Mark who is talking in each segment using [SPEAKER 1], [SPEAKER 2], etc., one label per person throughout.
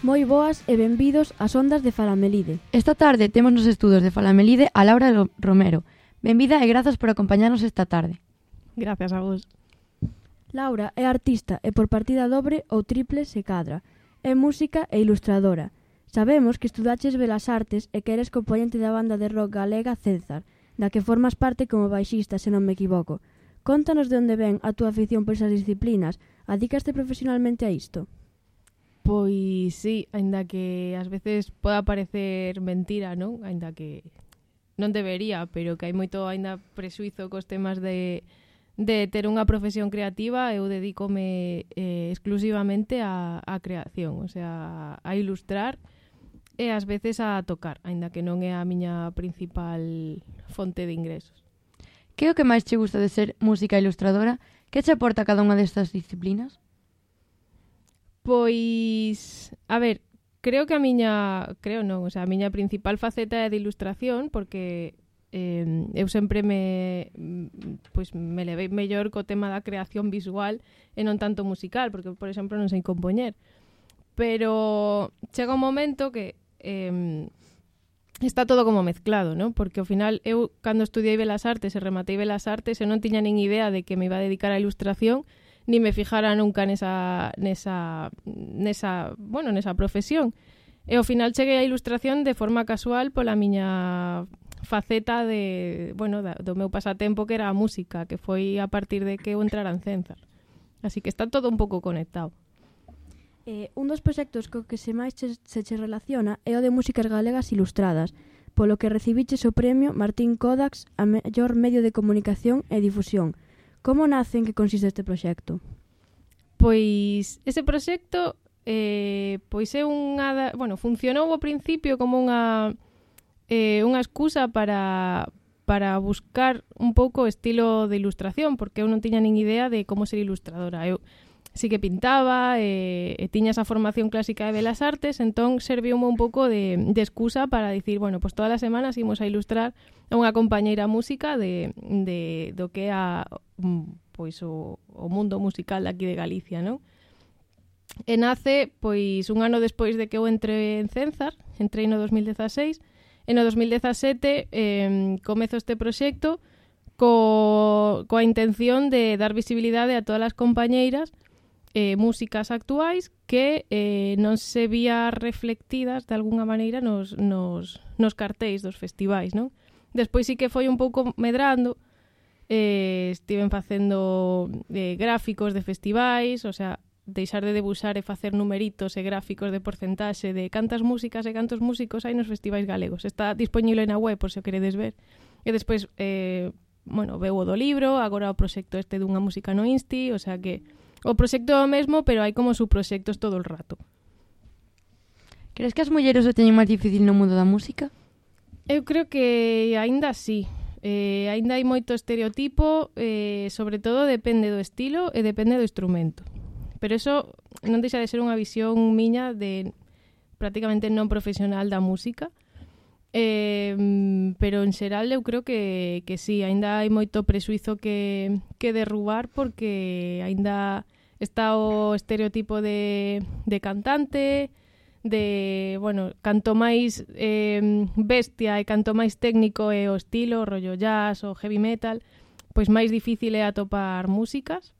[SPEAKER 1] Moi boas e benvidos ás ondas de Falamelide.
[SPEAKER 2] Esta tarde temos nos estudos de Falamelide a Laura Romero. Benvida e grazas por acompañarnos esta tarde.
[SPEAKER 3] Gracias a vos.
[SPEAKER 1] Laura é artista e por partida dobre ou triple se cadra. É música e ilustradora. Sabemos que estudaches Belas Artes e que eres componente da banda de rock galega César, da que formas parte como baixista, se non me equivoco. Contanos de onde ven a túa afición por esas disciplinas. Adícaste profesionalmente a isto?
[SPEAKER 3] Pois sí, aínda que ás veces poda parecer mentira, non? Aínda que non debería, pero que hai moito aínda prexuizo cos temas de ter unha profesión creativa. Eu dedícome exclusivamente á creación, o sea, a ilustrar e ás veces a tocar, aínda que non é a miña principal fonte de ingresos.
[SPEAKER 2] Que é o que máis che gusta de ser música ilustradora? Que che aporta cada unha destas disciplinas?
[SPEAKER 3] Pois, a ver, creo que a miña principal faceta é de ilustración, porque eu sempre me levei mellor co tema da creación visual e non tanto musical, porque, por exemplo, non sei compoñer. Pero chega un momento que está todo como mezclado, ¿no? Porque ao final eu, cando estudiei Belas Artes e rematei Belas Artes, eu non tiña nin idea de que me iba a dedicar á ilustración, ni me fijara nunca nesa profesión. E ao final cheguei á ilustración de forma casual pola miña faceta do meu pasatempo, que era a música, que foi a partir de que eu entrara en César. Así que está todo un pouco conectado.
[SPEAKER 1] Un dos proxectos co que se máis se relaciona é o de músicas galegas ilustradas, polo que recibiches o premio Martín Kodax a mellor medio de comunicación e difusión. Como nace, en que consiste este proxecto?
[SPEAKER 3] Pois ese proxecto funcionou ao principio como unha excusa para buscar un pouco o estilo de ilustración, porque eu non tiña nin idea de como ser ilustradora. Eu sí que pintaba e tiña esa formación clásica de Belas Artes, entón serviume un pouco de excusa para dicir, bueno, pues todas as semanas imos a ilustrar a unha compañeira música do que é o mundo musical aquí de Galicia, non? E nace, pois, un ano despois de que eu entre en César, entrei no 2016, e no 2017 comezo este proxecto coa intención de dar visibilidade a todas as compañeiras músicas actuais que non se vía reflectidas de algunha maneira nos cartéis dos festivais, non? Despois sí que foi un pouco medrando, estiven facendo gráficos de festivais, o sea, deixar de debuxar e facer numeritos e gráficos de porcentaxe de cantas músicas e cantos músicos hai nos festivais galegos. Está disponible na web, por se o queredes ver. E despois, veu o do libro, agora o proxecto este dunha música no Insti, o sea que o proxecto é o mesmo, pero hai como subproxectos todo o rato.
[SPEAKER 2] Crees que as mulleres o teñen máis difícil no mundo da música?
[SPEAKER 3] Eu creo que aínda sí. Aínda hai moito estereotipo, sobre todo depende do estilo e depende do instrumento. Pero eso non deixa de ser unha visión miña de prácticamente non profesional da música. Pero en xeral eu creo que sí, aínda hai moito prexuizo que derrubar, porque aínda está o estereotipo de cantante, de, canto máis bestia e canto máis técnico é o estilo, rollo jazz ou heavy metal, pois máis difícil é atopar músicas.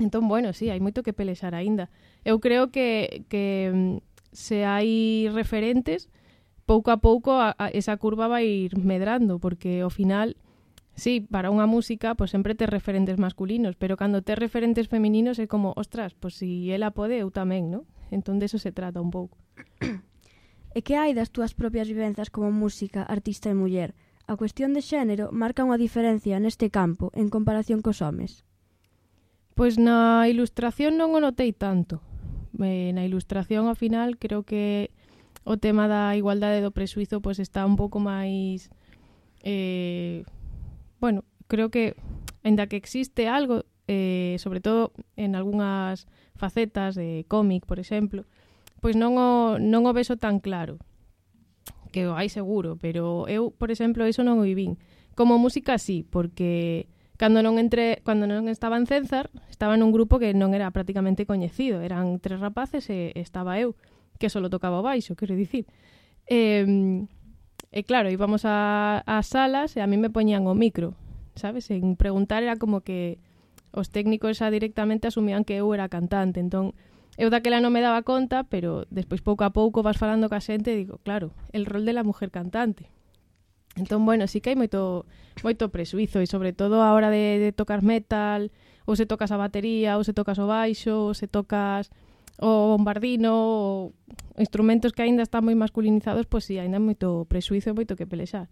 [SPEAKER 3] Entón, sí, hai moito que pelexar aínda. Eu creo que se hai referentes, pouco a pouco esa curva vai ir medrando, porque ao final, sí, para unha música, pues sempre tes referentes masculinos, pero cando tes referentes femininos é como, ostras, pues si ela pode, eu tamén, non? Entón, de eso se trata un pouco.
[SPEAKER 1] E que hai das túas propias vivenzas como música, artista e muller? A cuestión de xénero marca unha diferencia neste campo en comparación cos homes?
[SPEAKER 3] Pois na ilustración non o notei tanto, na ilustración, ao final, creo que o tema da igualdade do prexuizo pois está un pouco máis... bueno, creo que, ainda que existe algo, sobre todo en algunhas facetas de cómic, por exemplo, pois non o vexo tan claro, que o hai seguro, pero eu, por exemplo, iso non o vivín. Como música sí, porque cando non estaba en Cenzar, estaba nun grupo que non era prácticamente coñecido, eran 3 rapaces e estaba eu, que solo tocaba o baixo, quero dicir. E claro, íbamos ás salas e a mí me poñían o micro, sabes? En preguntar era como que os técnicos xa directamente asumían que eu era cantante, entón eu daquela non me daba conta, pero despois pouco a pouco vas falando ca xente e digo, claro, el rol de la mujer cantante. Entón, bueno, sí que hai moito prexuizo e sobre todo a hora de tocar metal, ou se tocas a batería, ou se tocas o baixo, ou se tocas o bombardino, ou instrumentos que aínda están moi masculinizados, pois sí, aínda hai moito prexuizo e moito que pelexar.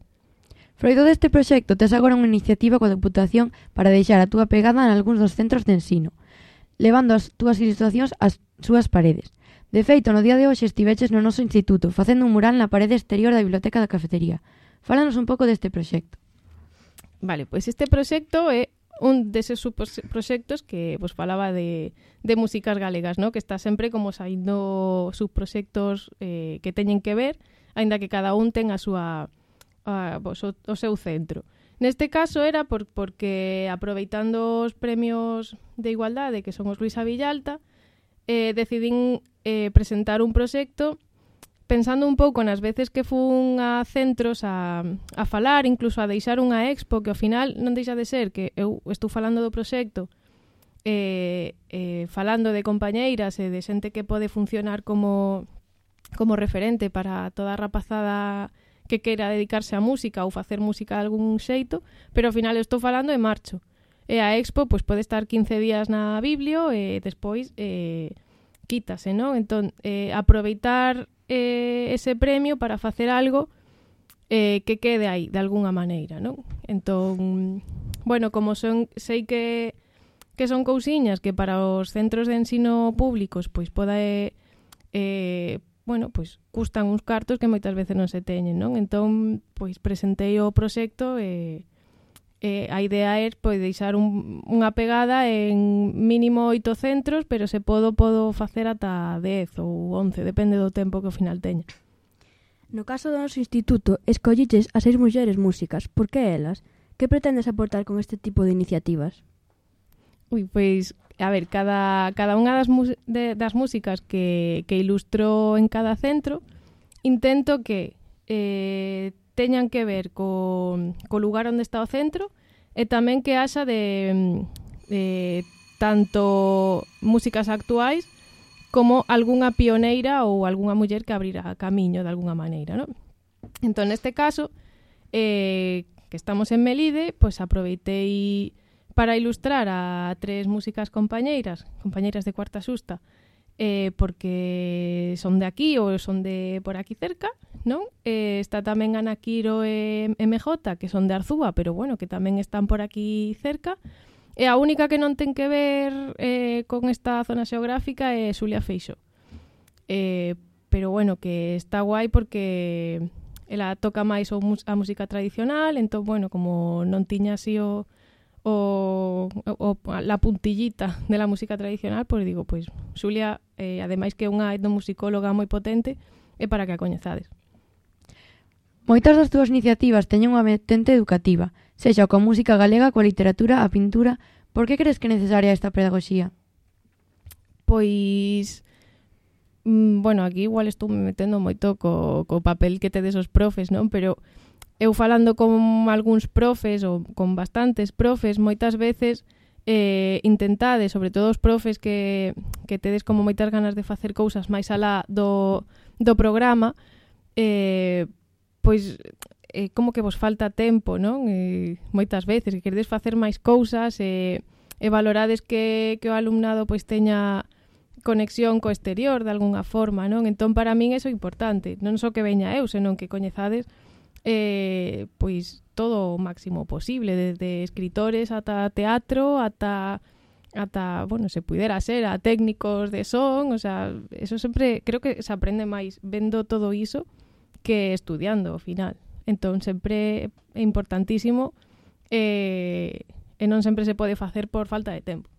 [SPEAKER 2] Froito deste proxecto, tes agora unha iniciativa coa Deputación para deixar a túa pegada en algúns dos centros de ensino, levando as túas ilustracións ás súas paredes. De feito, no día de hoxe estiveches no noso instituto, facendo un mural na parede exterior da biblioteca da cafetería. Fálanos un pouco deste proxecto.
[SPEAKER 3] Vale, pois este proxecto é un deses proxectos que vos falaba de músicas galegas, ¿no? Que está sempre como saindo subproxectos que teñen que ver, aínda que cada un ten a súa o seu centro. Neste caso era porque aproveitando os premios de igualdade, que son os Luisa Villalta, decidín presentar un proxecto pensando un pouco nas veces que fun a centros a falar, incluso a deixar unha expo, que ao final non deixa de ser que eu estou falando do proxecto, falando de compañeiras e de xente que pode funcionar como referente para toda a rapazada que queira dedicarse á música ou facer música de algún xeito, pero ao final estou falando e marcho. E a expo pois pode estar 15 días na Biblio e despois quítase, non? Entón, aproveitar ese premio para facer algo que quede aí, de algunha maneira, non? Entón, bueno, como sei que son cousiñas que para os centros de ensino públicos pois pode bueno, pois custan uns cartos que moitas veces non se teñen, non? Entón, pois presentei o proxecto e a idea é pois deixar unha pegada en mínimo 8 centros, pero se podo facer ata 10 ou 11, depende do tempo que ao final teña.
[SPEAKER 1] No caso do noso instituto, escolliches a 6 mulleres músicas. Por que elas? Que pretendes aportar con este tipo de iniciativas?
[SPEAKER 3] Pois, a ver, cada unha das músicas que ilustro en cada centro, intento que teñan que ver co lugar onde está o centro e tamén que haxa de tanto músicas actuais como algunha pioneira ou algunha muller que abrira camiño de algunha maneira, non? Entón, neste caso, que estamos en Melide, pois aproveitei para ilustrar a 3 músicas compañeiras de Cuarta Xusta, porque son de aquí ou son de por aquí cerca, non? Está tamén Ana Quiro e MJ, que son de Arzúa, pero bueno, que tamén están por aquí cerca. E a única que non ten que ver con esta zona xeográfica é Xulia Feixó. Pero bueno, que está guai porque ela toca máis a música tradicional, entón, bueno, como non tiña así la puntillita de la música tradicional, pois digo, pois Xulia, ademais que é unha etnomusicóloga moi potente, é para que a coñezades.
[SPEAKER 2] Moitas das túas iniciativas teñen unha vertente educativa, sexa coa música galega, coa literatura, a pintura. Por que crees que é necesaria esta pedagogía?
[SPEAKER 3] Pois, bueno, aquí igual estou me metendo moito co papel que tedes os profes, non? Pero eu falando con algúns profes ou con bastantes profes, moitas veces intentade, sobre todo os profes que tedes como moitas ganas de facer cousas máis alá do programa, pois como que vos falta tempo, non? Moitas veces que queredes facer máis cousas e valorades que o alumnado pois teña conexión co exterior de algunha forma, non? Entón, para min iso é importante, non só que veña eu, senón que coñezades pois todo o máximo posible, desde escritores ata teatro, ata ata, bueno, se pudera ser a técnicos de son, o sea, eso sempre creo que se aprende máis vendo todo iso que estudiando ao final. Entón, sempre é importantísimo e non sempre se pode facer por falta de tempo.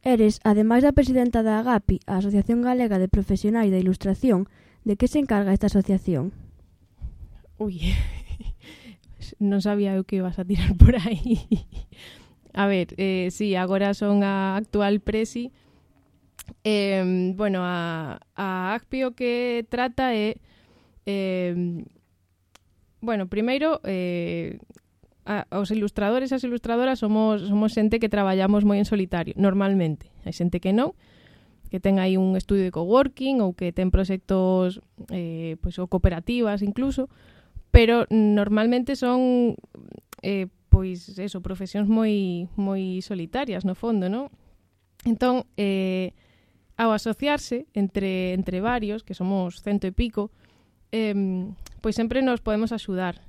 [SPEAKER 1] Eres, ademais da presidenta da AGAPI, a Asociación Galega de Profesionais da Ilustración, de que se encarga esta asociación?
[SPEAKER 3] Ui, non sabía eu que ibas a tirar por aí. A ver, sí, agora son a actual presi. Bueno, a AGPI o que trata é... bueno, primeiro... os ilustradores e as ilustradoras somos xente que traballamos moi en solitario, normalmente. Hai xente que non, que ten aí un estudio de coworking ou que ten proxectos pois, ou cooperativas incluso, pero normalmente son pois eso, profesións moi solitarias no fondo, non? Entón, ao asociarse entre varios, que somos 100 e pico, pois sempre nos podemos axudar.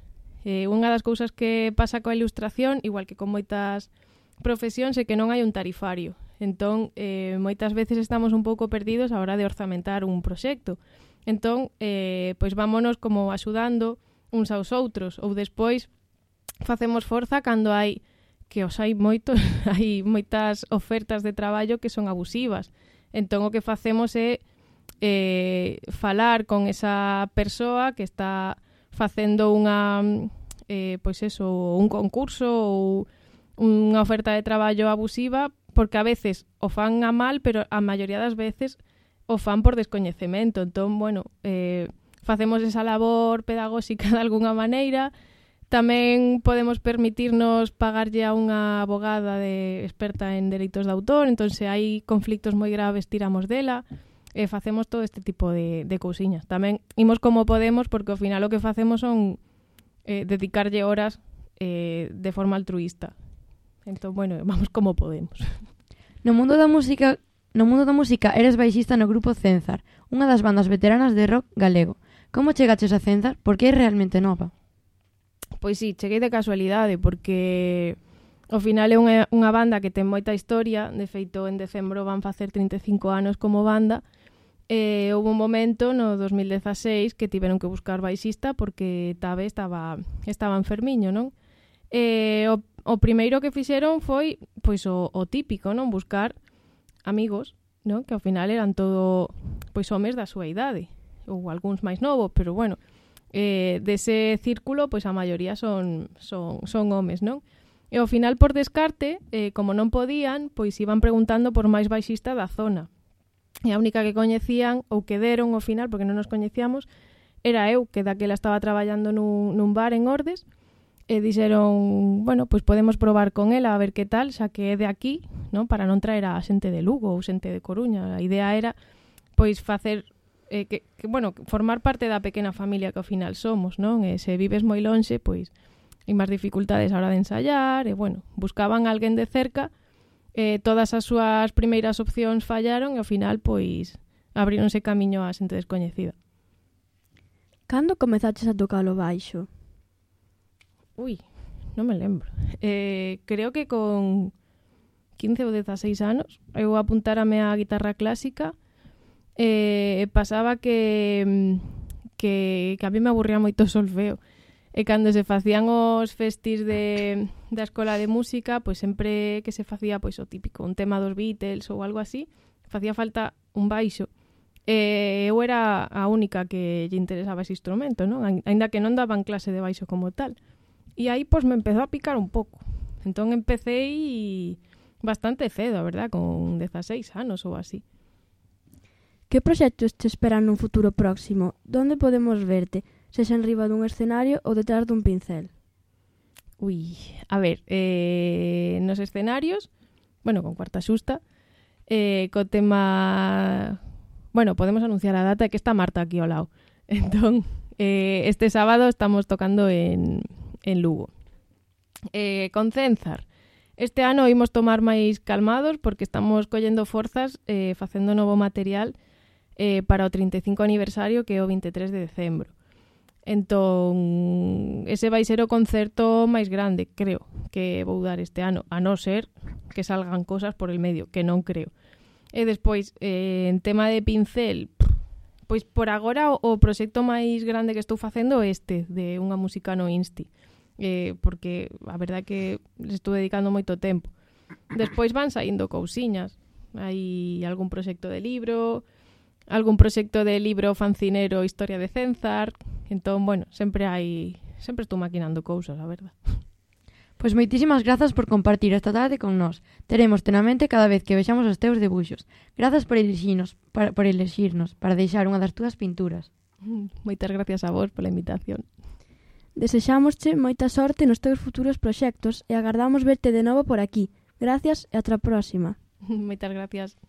[SPEAKER 3] Unha das cousas que pasa coa ilustración, igual que con moitas profesións, é que non hai un tarifario. Entón, moitas veces estamos un pouco perdidos a hora de orzamentar un proxecto. Entón, pois vámonos como axudando uns aos outros, ou despois facemos forza cando hai, que os hai moitos, hai moitas ofertas de traballo que son abusivas. Entón, o que facemos é falar con esa persoa que está facendo unha pois eso, un concurso ou unha oferta de traballo abusiva, porque a veces o fan a mal, pero a maioría das veces o fan por descoñecemento. Entón, bueno, facemos esa labor pedagóxica de alguna maneira. Tamén podemos permitirnos pagarlle a unha abogada experta en dereitos de autor, entón se hai conflictos moi graves tiramos dela. Facemos todo este tipo de cousiñas. Tamén imos como podemos, porque ao final o que facemos son dedicarlle horas de forma altruista. Entón, bueno, vamos como podemos.
[SPEAKER 2] No mundo da música eres baixista no grupo Cenzar, unha das bandas veteranas de rock galego. Como chegaches a Cenzar? Porque é realmente nova.
[SPEAKER 3] Pois sí, cheguei de casualidade, porque ao final é unha banda que ten moita historia. De feito, en decembro van facer 35 anos como banda. Houve un momento no 2016 que tiveron que buscar baixista porque Tabe estaba enfermiño, non? O primeiro que fixeron foi pois o típico, non? Buscar amigos, non? Que ao final eran todo pois homes da súa idade, ou algúns máis novos, pero bueno, dese círculo pois a maioría son homes, non? E ao final, por descarte, como non podían, pois iban preguntando por máis baixista da zona. E a única que coñecían, ou que deron ao final, porque non nos coñecíamos, era eu, que daquela estaba traballando nun bar en Ordes, e dixeron, bueno, pois podemos probar con ela a ver que tal, xa que é de aquí, non? Para non traer a xente de Lugo ou xente de Coruña. A idea era, pois, facer, bueno, formar parte da pequena familia que ao final somos, non? E se vives moi lonxe, pois, hai máis dificultades a hora de ensayar, e, bueno, buscaban alguén de cerca. Todas as súas primeiras opcións fallaron e ao final, pois, abríronse camiño a xente descoñecida.
[SPEAKER 1] Cando comezaches a tocar o baixo?
[SPEAKER 3] Ui, non me lembro. Creo que con 15 ou 16 anos eu apuntárame á guitarra clásica. Pasaba que a mí me aburría moito o solfeo. E cando se facían os festis da escola de música, pois sempre que se facía pois o típico, un tema dos Beatles ou algo así, facía falta un baixo. Eu era a única que lle interesaba ese instrumento, non? Aínda que non daban clase de baixo como tal. E aí pois me empezou a picar un pouco. Entón empecé bastante cedo, a verdad, con 16 anos ou así.
[SPEAKER 1] Que proxectos te esperan nun futuro próximo? Donde podemos verte? Sexa en riba dun escenario ou detrás dun pincel?
[SPEAKER 3] Ui, a ver, nos escenarios, bueno, con Cuarta Xusta, co tema... Bueno, podemos anunciar a data que está Marta aquí ao lado. Entón, este sábado estamos tocando en Lugo. Con Cenzar, este ano imos tomar máis calmados porque estamos collendo forzas facendo novo material para o 35 aniversario que é o 23 de decembro. Entón, ese vai ser o concerto máis grande, creo, que vou dar este ano, a non ser que salgan cosas por el medio, que non creo. E despois, en tema de pincel, pois por agora o proxecto máis grande que estou facendo é este, de unha música no Insti, porque a verdade é que les estou dedicando moito tempo. Despois van saindo cousiñas, hai algún proxecto de libro, algún proxecto de libro fancinero Historia de Cenzar. Entón, bueno, sempre estou maquinando cousas, a verdade.
[SPEAKER 2] Pois moitísimas grazas por compartir esta tarde con nós. Teremos tenamente cada vez que vexamos os teus debuxos. Grazas por elixirnos para deixar unha das túas pinturas.
[SPEAKER 3] Moitas gracias a vos pola invitación.
[SPEAKER 1] Desexámosche moita sorte nos teus futuros proxectos e agardamos verte de novo por aquí. Gracias e ata a próxima.
[SPEAKER 3] Moitas gracias.